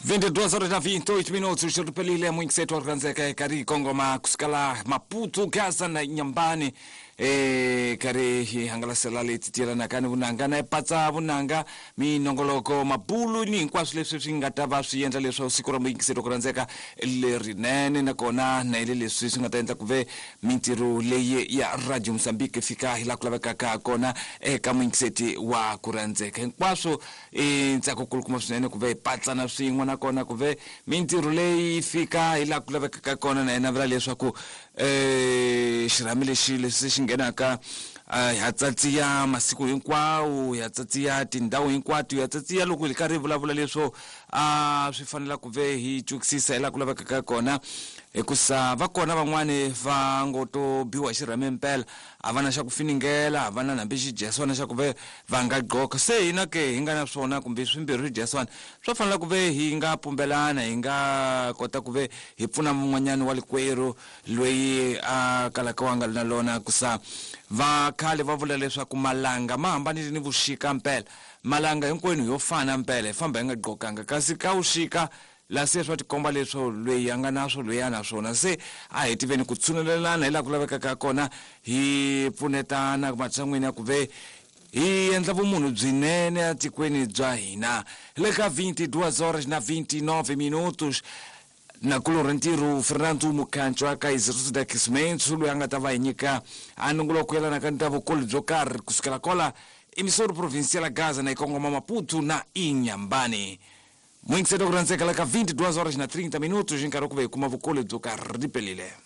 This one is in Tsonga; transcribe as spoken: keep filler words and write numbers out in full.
vinte e duas horas na vinte e oito minutos, xiripelile mwinkisetu wa rhandzeka kari kongoma kusukela Maputo, Gaza na Inhambane. E kari hi hangalasela leti tielanaka ni vunanga na patsa vunanga minongoloko mabulu ni hinkwaswo leswi swi nga ta va swi endla leswaku siku ra muyingiseri ku rhandzeka lerinene, nakona na ile leswi swi nga ta endla ku ve mintirho leyi ya Radio Mozambique fika hi laha ku lavekaka kona eka muyingiseti wa ku rhandzeka. Hinkwaswo i ntsako kulukumba swinene ku ve hi patsana swin'we, nakona ku ve mintirho leyi fika hi laha ku lavekaka kona, na yena vula leswaku eh xirhami lexi lexi xi nghenaka ha tsatsiya masiku hinkwawo, ya tsatsiya tindhawu hinkwato, ya tsatsiya loko hi karhi hi vulavula leswo a swi fanela ku ve hi twisisa hi laha ku lavekaka kona, hikusa va kona van'wani va ngo to biwa hi xirhami mpela, a va na xa ku finingela, a va na hambi xidyeswana xa ku ve va nga gqoka. Se hina ke hi nga na swona kumbe swimbirhi swidyeswana swa fanela ku ve hi nga pumbelana, hi nga kota ku ve hi pfuna mun'wanyana wa likwerhu loyi a kalaka wa nga ri na lona. Kusa va khale va vula leswaku malanga ma hambanile ni vuxika mpela, malanga hinkwenu yo fana mpela, hi famba hi nga gqokanga, kasi ka vuxika la se swa tikomba leswo loyi a nga na swo loyi a na swona. Se a hi tiveni ku tshunelelana hi laha ku lavekaka kona, hi pfunetana matshan'wini ya ku ve hi endla vumunhu byinene etikweni bya hina. Le ka vinte e duas horas na vinte e nove minutos, na kulorha ntirho Fernando Mukhancho aka Instituto de Aquecimento loyi a nga ta va hi nyika a nongoloko yelanaka ni ta vukulu byo karhi kusukela kwala emissora provincial ya Gaza na ikongoma Maputo na Inhambane. Muyingiseri ku rhandzeka la ka vinte e duas horas na trinta minutos, hi nkarhi wa ku ve hi kuma vukulu byo karhi ripelile.